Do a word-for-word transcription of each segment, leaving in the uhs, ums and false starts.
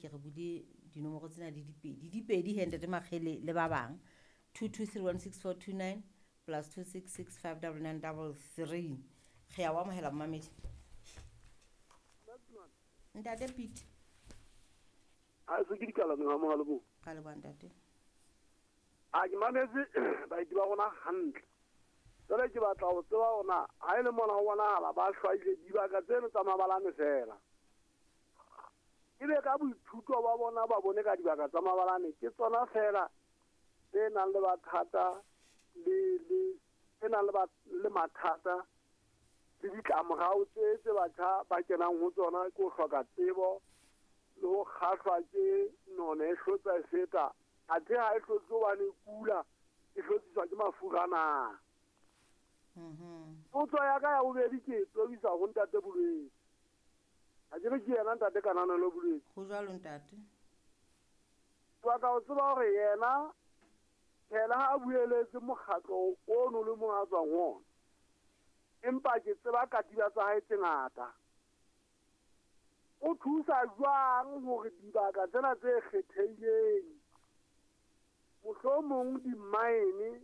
ke re bule dinomoro tsena di dipedi. Dipedi he ntate Makgele le ba bang. two two three one six four two nine plus two six six five double nine double three. Re a o amohela momamedi. Ntate Pete. Ha se ke dikalane ha mohalo bo. Ka leboha ntate. A ke mametse baeti ba rona hantle. Jwale ke batla ho tseba hore na ha e le mona ho bonahala ba hlwaile dibaka tseno tsa mabalane fela. Ebe ka boithuto ba bona ba bone ka dibaka tsa mabalane ke tsona fela tse nang le mathata le le tse nang le le mathata le ditlamorao tse tse batjha ba kenang ho tsona ke ho hloka tsebo le ho kgahlwa ke none e hlotsa e feta. Athe ha e hlotse hobane e kula, e hlotsiswa ke mafura na. Mhm. Potso ya ka ya bobedi ke e tobisa ho ntate Bolwetse. Ha ke re ke yena ntate Kananelo Bolwetse. Ho jwalo ntate. Ke batla ho tseba hore yena phela ha a bueletse mokgatlo ono le mong a tswang ho ona. Empa ke tseba katiba tsa hae tse ngata. O thusa jwang hore dibaka tsena tse kgethehileng, mohlomong di-mine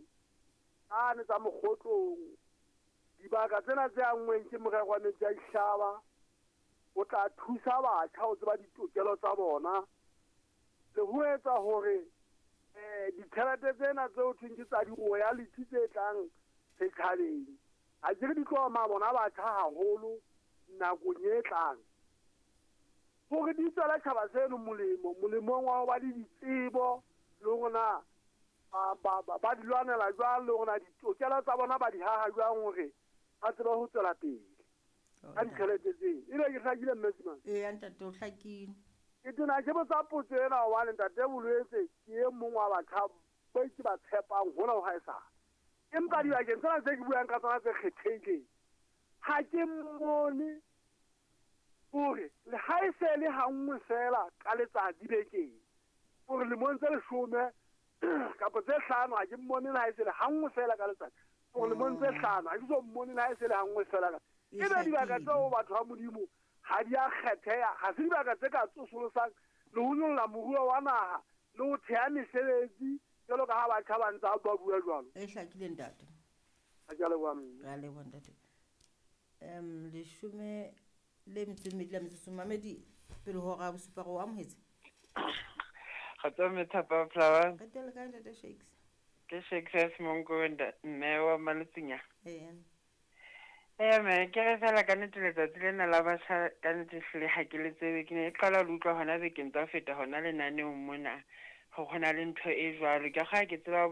tsane tsa Mokgotlong, dibaka tsena tse anngweng ke morero wa metsi a dihlaba, o tla thusa batjha ho tseba ditokelo tsa bona le ho etsa hore eh ditjhelete tsena tse ho thweng ke tsa di-royalty tse tlang setjhabeng, ha ke re di tlo ama bona batjha haholo nakong e tlang, hore di tswele tjhaba seno molemo, molemong wa ho ba le ditsebo le hore na ba, ba, ba, ba di lwanela jwang, le hore na ditokelo tsa bona ba di haha jwang hore ba tsebe ho tswela pele ka ditjhelete tseo. Ebe ke hlakile mme Simane? Eya ntate, o hlakile. Ke tena ke botsa potso ena hobane ntate Bolwetse ke e mong wa batjha ba ke ba tshepang hona ho haesale. Empa dibakeng tsena tse ke buang ka tsona tse kgethehileng, ha ke mmone hore le ha e se le ha nngwe fela ka letsatsi bekeng, hore lemong tse leshome kapa tse hlano ha ke mmone le ha e se le ha nngwe fela ka letsatsi, hore lemong tse hlano ha ke so mmone le ha e se le ha nngwe fela ka. E Ebe dibaka hlakile. tseo batho ba Modimo ha di a kgetheha, ha se dibaka tse ka tsosolosang le ho nyolla moruo wa naha le ho theha mesebetsi jwalo ka ha batjha ba ntse ba bua jwalo. E hlakile ntate. Ha ke a leboha mme. Re a leboha ntate. Em leshome le metso e mmedi la metsotso, mamedi pele ho hora ya bosupa re o amohetse. Kgotso mme Thapa Flower. Re teng le kae ntate Shakes? Ke Shakes ya Semonko mme wa Malotsinya. Eya. Eya mme, ke re fela ka nnete letsatsi lena la batjha ka nnete hlile ha ke le tsebe. Ke ne ke qala ho utlwa hona bekeng tsa ho feta hona lenaneong mona hore hona le ntho e jwalo. Ke kgale ke tseba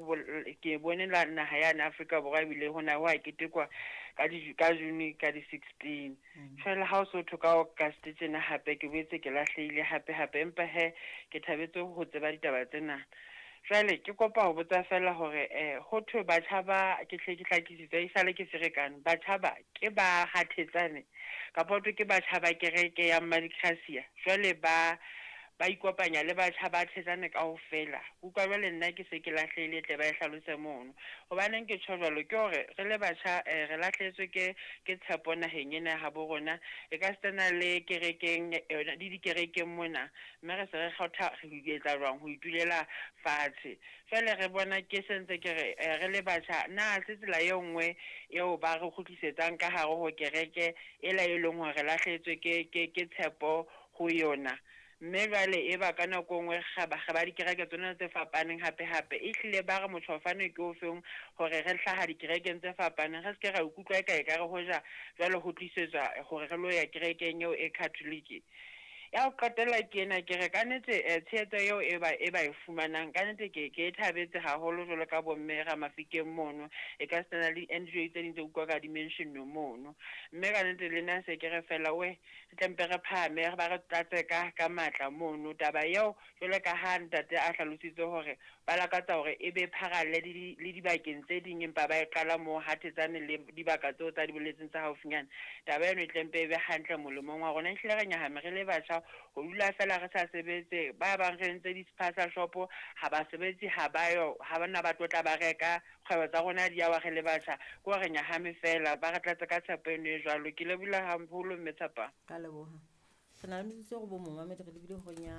ke bone la naha yane Afrika Borwa ebile hona ho a ketekwa ka di ka June ka di sixteen. Jwale ha o so thwe ka August tjena hape ke boetse ke lahlehile hape hape, empa he ke thabetse ho tseba ditaba tsena. Jwale ke kopa ho botsa fela hore eh ho thwe batjha ba ke hle ke hlakisitse e sale ke ferekane, batjha ba ke ba hathetsane kapa ho thwe ke batjha ba kereke ya Mmadikgasia, jwale ba ba ikopanya le batjha ba thetsane kaofela. Utlwa jwale nna ke se ke lahlehile tle ba e hlalose mono. Hobaneng ke tjho jwalo ke hore re le batjha eh, re lahlehetswe ke ke tshepo naheng ena ya habo rona, e ka sitana le kerekeng yona le dikerekeng mona, mme re se re kgotha re etsa jwang ho itulela fatshe. Jwale re bona ke sentse ke re eh, re le batjha na se tsela e nngwe eo ba re kgutlisetsang ka hare ho kereke ela e leng hore re lahlehetswe ke ke ke tshepo ho yona. Mme jwale e ba ka nako e nngwe ga ba ga ba dikereke tsona tse fapaneng hape hape, e hlile ba re motjhofane ke o feng hore re hlaha dikerekeng tse fapaneng, re se ke ra ikutlwa eka ekare hoja jwale ho tlisetswa hore re lo ya kerekeng eo e Catholic. Ya ho qetela ke ena ke re ka nnete eh, tshehetso eo e ba e ba e fumanang ka nnete ke ke e thabetse haholo jwalo ka bomme Ramafikeng mono, e ka sena le N G O tse ding tse utlwa ka di-mention mono. Mme ka nnete le nna se ke re fela we re tle mpe re phahame re ba re tlatse ka ka matla mono. Taba eo jwalo ka ha ntate a hlalositse hore ba lakatsa hore e be pharalle le le dibakeng tse ding, empa ba e qala moo hathetsane le dibaka tseo tsa di boletseng tsa haufinyana. Taba eno e tle mpe e be hantle molemong wa rona. Ehlile re nyahame re le batjha ho dula fela re sa sebetse, ba bang re entse di-spaza shop ha ba sebetse, ha ba yo, ha bana ba tlo tla ba reka, kgwebo tsa rona di a wa re le batjha, ke hore re nyahame fela, ba re tlatse ka tshepo eno e jwalo. Ke lebohile haholo mme Thapa. Ka leboha. Re na le metsotso e robong momamedi, re lebile horeng ya